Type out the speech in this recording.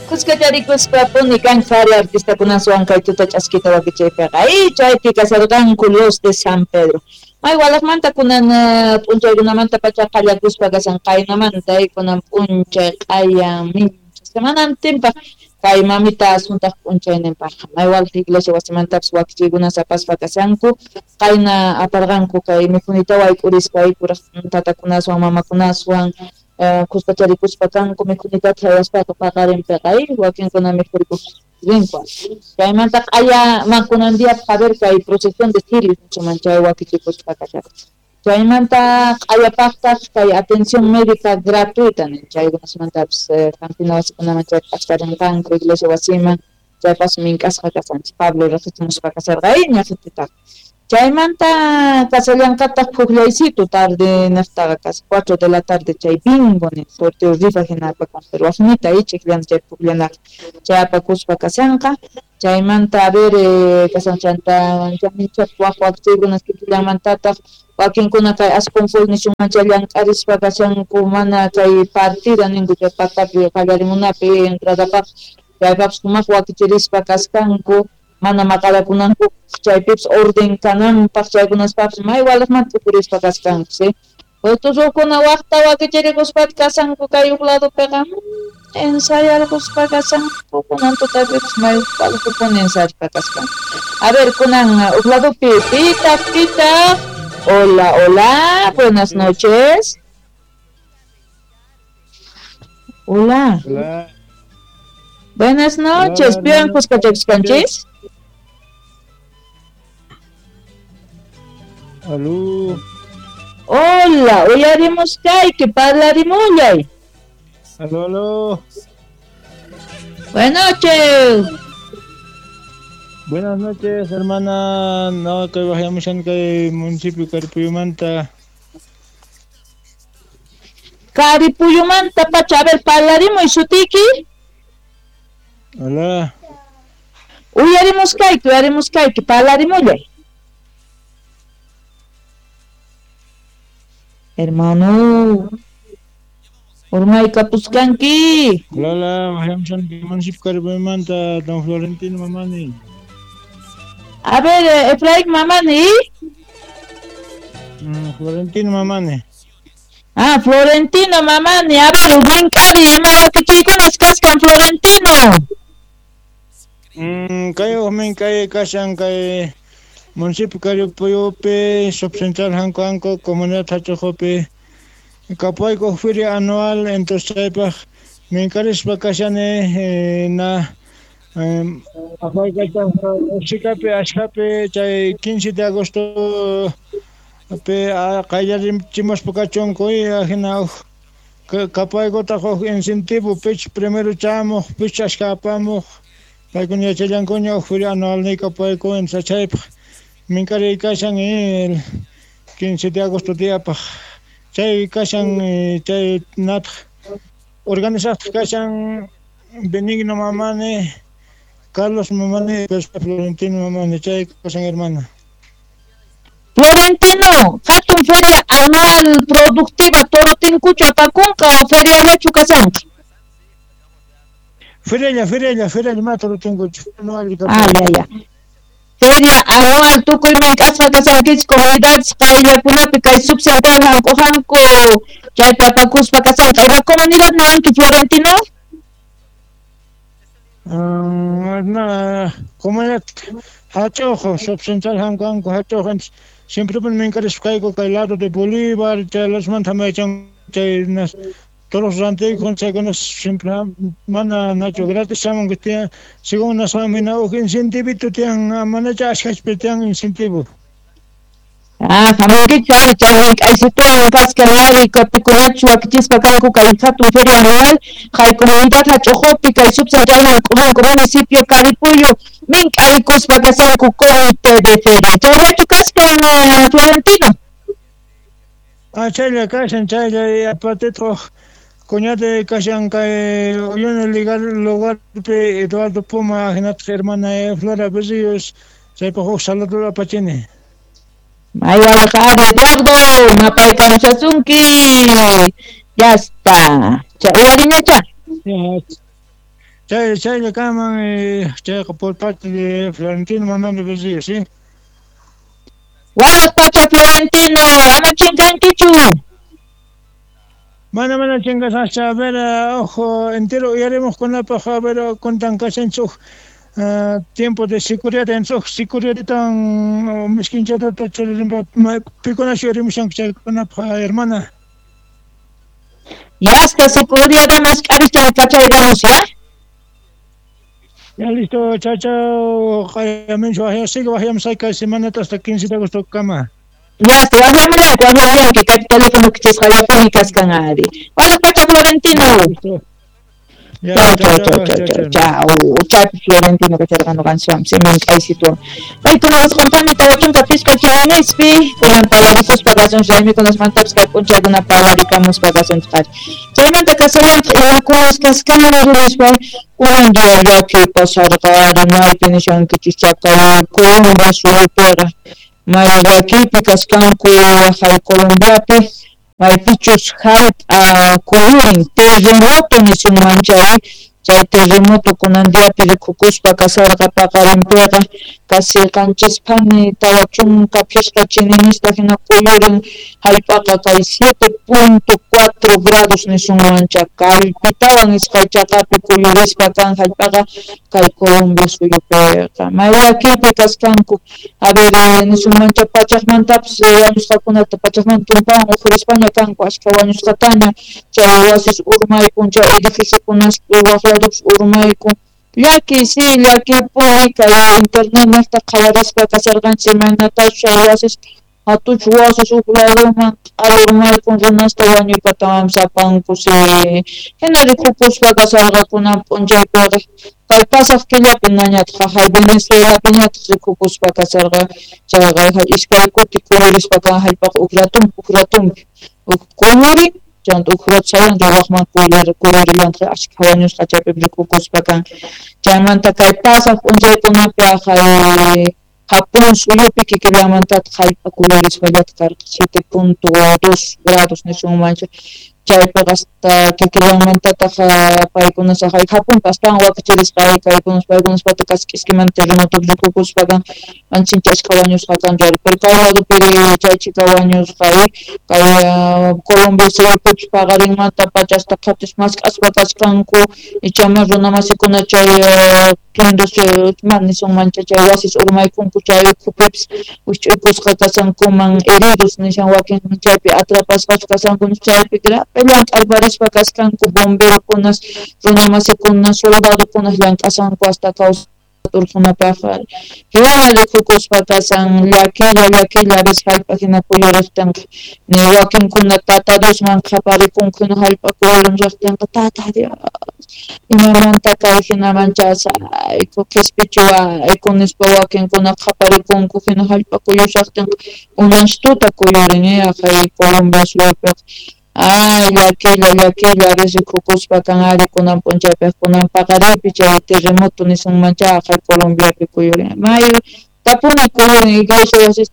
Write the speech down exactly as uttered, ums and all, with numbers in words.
Kuskacharikuspa puni kan qhari artistakunaswan kay tuta ch'askita wakichaypiqa y chaypi kasarqanku Los de San Pedro. May walaqmanta kunan p'unchaykunamanta pacha qallakuspa kasan qaynamanta y kunan p'unchay q'aya mincha semanantinpaq kay mamita asuntaq p'unchayninpaq may walaq iglesia wasimantapis wakichiykunas apaspa kasanku qayna aparqanku kay mikhunita wayk'urispa kuraq tatakunaswan mamakunaswan kuskacharikuspa kanku mikhunitata haywaspaqa paqarinpiqa wakinkuna mikhurikuq rinku. Chaymanta q'aya kunan día a ver kay procesión de cirios nichuman chay wakichikuspa kasharqa. Chaymanta q'ayapaqtaq kay atención médica gratuita nin chaykunasmantapis hampina wasikunaman chay p'achkarinqanku iglesia wasiman chaypas mink'asqa kasanchik Pablo riqsichimuspa kasarqa ñaqititaqa. Chaymanta kasallanqataq puqllaysitu tarde naqtaqa casi cuatro de la tarde chay bingo nin sorteo rifa hina apakun pero waqnita ichikllana chay puqllanaqa chay apakuspa kasanqa. Chaymanta a ver kasan chanta chaminchaq waq wakichiykunas kikillanmantataq wakinkuna kay asconfol nishunman chay llank'arispa kashanku mana kay partida ninku chay patapi qallarimunapi entradapaq chaypapis sumaq wakichirispa kaskanku mana maqalakunanku chaypipis orden kananpaq chaykunaspapis may walaqmanta tukurispa kaskanku sí. Utusukuna waqta wakichirikuspa kasanku kay huk ladopiqa ensayarquspa kasanku kunan tutapipis may walaqpuni ensayaspa kaskanku. A ver kunan huk ladopi pitaq pitaq hola hola buenas noches. Hola. Hola. Buenas noches. ¿Pian kuskachakuskanchis? Aló. Hola, uyarimus kayki, parlarimullay. Aló, aló. Buenas noches. Buenas noches, hermana. No, que bajamos en el municipio Caripuyumanta. Caripuyumanta, pacha, a ver, parlarimuy sutiki. Hola. Uyarimus kayki, uyarimus kayki, parlarimullay. Hermano, urmay kapuskanki. Hola, hola, bajamos en el municipio Caripuyumanta, don Florentino Mamani. A ver, Efraín Mamani. Mm, Florentino Mamani. Ah, Florentino Mamani. A ver, mink'ari, ima wakichiykunas kaskan Florentino. Mm, kay mink'ari kashan kay municipio Caripuyupi, subcentral Hanco Hanco, comunidad Hachojopi, kapayku feria anual, entonces chaypaq mink'arispa kashani eh, na apaykachapi ashkapi chay quince de agosto pe qallarimchimuspa kachunku hina huk kapaykutaq huk incentivo pich primero chamuq pich ashka apamuq paykuna yachallankuña huk feria anual ni kapayku entonces chaypaq mink'ariy kashan el quince de agosto diapaq chay kashan chay nataq organizaqtaq kashan Benigno Mamani, Carlos Mamani, Florentino Mamani, chay kashan hermana. Florentino, hatun feria anual productiva Torotinkuchu apakunqa o feriallachu kasanqa? Ferialla, ferialla, ferialla ma Torotinkuchu. Ah, ya, ya. Feria anual tukuy mink'asqa kasankichik comunidades qayllakunapi kay subcentral hanku hanku chaypi apakuspa kasanqa. Ima comunidad niwanki Florentino? Um, na comunidad Hachojo, subcentral hanku hanku Hachojo, siempre mink'arispa kayku kay lado de Bolívar, chay lasmanta maychan chay nas todos los antiguos chaykunas siempre mana nacho gratis chamunku tiyan según nasqanmina huk incentivito tiyan manacha ashkachpi tiyan incentivo. Ah, hamunkichik ari chay mink'aysituwan kaskan ari pikunachus wakichispa kanku kay hatun feria anual kay comunidad Hachojopi kay subcentral hanku hanku municipio Caripuyo mink'arikuspa kasanku comité de feria. Chayllachu kaskan Florentino? Ah, chaylla kashan chaylla aparte cuñate kashan kay uyuni lugar lugarpi Eduardo Puma hinataq hermana Flora Berríos chaypaq huk saludo apachini. May walaq ari Eduardo, mapaykamushasunki. Ya está. Cha, uyariñacha. Ya, chay chaylla kanman eh, chayqa por parte de Florentino Mamani Berrío, ¿sí? Walaj pacha Florentino, ama chinkankichu. Mana mana chingasaqcha, a ver, ojo, entero uyarimuqkunapaq, a ver, kuntan kashanchik uh, tiempo de seguridad entonces seguridad miskinchata churirimpa pikunash uyarimushanku chaykunapaq, hermana. Yasta seguridad mask'arischa kachayramus, ya? Ya listo, chao, chao, q'ayaminchu wajya, sigue wajyamusayki kay semanata hasta quince de agosto kama. Ya, wajyamulanki, wajyamulanki, kay teléfono kichasqallapuni kaskan ari. Walaj pacha Florentino. Listo. Ya, Chao, chao, chao, chao, chao, chao, chao, chao. Chaypi Florentino kacharqa ñuqanchikwan simin k'aysituwan. Paykuna wasquntami tawa chunka pishqa chinispi, kunan parlarikuspa kasunchik raymikunasmantapis kay p'unchaykuna parlarikamuspa kasunchik ari. Chaymanta kasallantaq imakunas kaskanri nispa kunan día llakiy pasarqa ari maypi nishankichik chaqay Colombia suyupiqa may llakiypi kaskanku waqay Colombiapi maypichus hallp'a kuyurin terremoto nisunman chay chay terremoto kunan diapi rikukuspa kasarqa paqarinpiqa casi qanchis phani tawa chunka phishqa chininista hina kuyurin hallp'aqa kay siete punto cuatro grados nisunman chay kallpitawan iskay chaqapi kuyurispa kan hallp'aqa kay Colombia suyupiqa may llakiypi kaskanku a ver nisunman chay pachaqmantapis wañusqakunata pachaqmanta tumpawan uqhurispaña kanku ashkha wañusqataña chay wasis urmaykun chay edificiokunas waq ladupis urmaykun llakiy si llakiypuni kay internet niqta qhawarispa kasarqanchik imaynatachus chay wasis hatuch wasis huk laduman q'ala urmaykun runasta wañuypatawanpis apanku si hina rikukuspa kasarqa kunan p'unchaypiqa kay pasaq killapi nañataq jaqay Venezuelapiñataq rikukuspa kasarqa chayqa iskay kuti kuyurispa kan hallp'aqa huk ratunpi huk ratunpi huk kuyurin chanta huk rato sayan waqman kuyurillantaq ashkha wañusqa chaypi rikukuspa kan chaymanta kay pasaq p'unchaykunapi jaqay Japón suyupi kikillanmantataq hallp'a kuyurispallataq karqa siete punto dos grados nisunman chaypiqa hasta kikillanmantataq paykuna jaqay Japonpi astawan wakichirisqa kaykunas paykunaspata casi k'iskimanta terremotopi rikukuspa kan ancha ashkha wañusqa kanku ari pero kay ladopi chay chhika wañusqa kay Colombia suyupipis paqarinmanta pacha hasta qhatis mask'aspa kasqanku ichama runa masikuna chay tundos mana nisunman chay wasis urmaykunku chay ukhupipis wikch'uykusqa kashankuman heridos nishan wakin chaypi atrapasqachu kashanku chaypi llank'arparispa kasqanku bomberokunas runa masikuna soldadokunas llank'ashanku hasta kawsayta urqhunapaq hina rikukuspa kashan llakilla llakilla a veces hallp'a hina kuyuriqtinqa ni wakinkuna tata Diosman qhaparikunku hina hallp'a kuyurimushaqtinqa tata Dios imamanta kay hinaman chasayku qhispichiwayku nispa wakinkuna qhaparikunku hina hallp'a kuyushaqtinqa unanchik kuyurin jaqay Colombia suyupiqa ay llakilla llakilla a veces rikukuspa kan ari kunan p'unchaypiqa kunan paqarinpi chay terremoto nisunman chay jaqay Colombiapi kuyurin may tapuni kuyurin iglesia wasista